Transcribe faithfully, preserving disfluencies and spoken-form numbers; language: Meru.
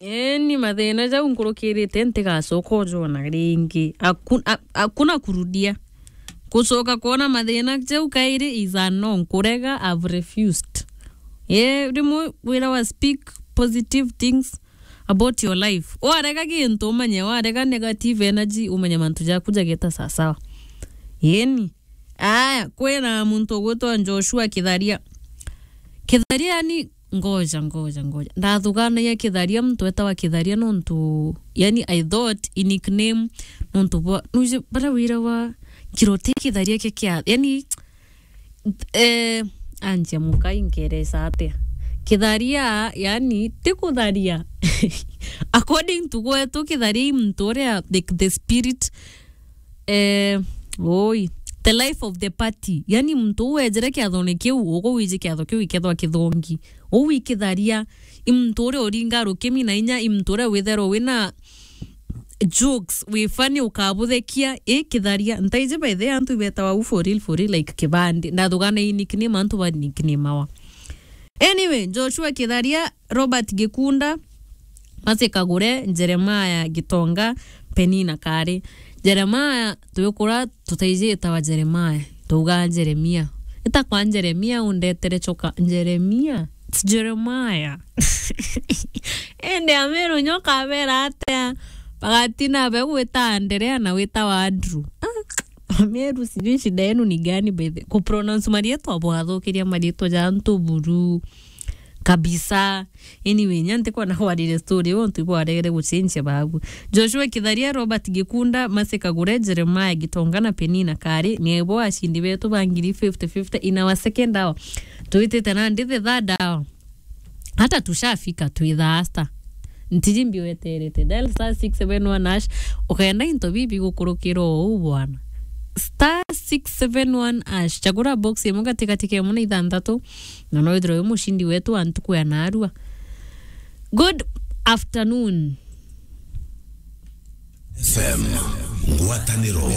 Eni, mathina jau nkurukirite ntigacoka ujona ringi. Hakuna, ha-, hakuna kurudia. Kucoka kwona mathina jau kairi is a no, nkurega, I've refused. Ye, rimwe wira wa speak positive things about your life. Warega gintu umenye, warega negative energy umenye mantu jaku jageta sawasawa. Yeni. Aya, kwina muntu ugwitwa Joshua Kitharia. Kitharia yani, ngoja, ngoja, ngoja. Ndathuganagia Kitharia, muntu etawa Kitharia nontu, yani, I thought i nickname nontu bwa, nuji, bara wira wa kirote Kitharia kia kia, yani, eh, anjia mukai nkeresa atia. Kitharia, yani, ti kutharia. According to gwetu, Kitharia i muntu uria, like, the spirit eh, oi, the life of the party. Yani, muntu uu wejire kiathone kiu, ugu wiji kiatho kiu ikethwa kithongi. Uu wi Kitharia, i muntu uria uringa rukimi na inya, i muntu uria witherwa wina jokes, wi funny, ukabuthekia, i Kitharia. Ntaiji by the way, antu ibetawa u for real, for real, like, kibandi. Ndathugana i nickname, antu ba nickname awa. Anyway, Joshua Kitharia, Robert Gikunda, Mercy Kagure, Jeremiah Gitonga, Penina Kari. Jeremiah, twikura tutaiji itawa Jeremiah, twauga Jeremia. Ita kwa Jeremia, undetere choka. Jeremia? It's Jeremiah. Ende Ameru nyoka abera atia? Bagatina be gwita Anderea na witawa Andrew. Ah, Ameru, sijui shida yenu ni gani by the, kupronounce marietwa, bwathukiria marietwa ja antu buru kabisa. Anyway, nya ntikwenda kwarire story iu, ontu ibwaregere gucenjia babu. Joshua Kitharia, Robert Gikunda, Mercy Kagure, Jeremiah Gitonga na Penina Kari, nibo ashindi betu ba ngiri fifty fifty in our second hour. Twitite nandi the third hour. Hata tushafika, twi thaa sita. Ntiji mbi weterete. Dial star six seven one hash, ukenda into bibi gukurukira uu bwana. Star six seven one hash. Chagura box imwe gatigati ka imwe na ithanthatu, na no withirwe wi mushindi wetu wa ntuku ya narua. Good afternoon. F M, ngwataniro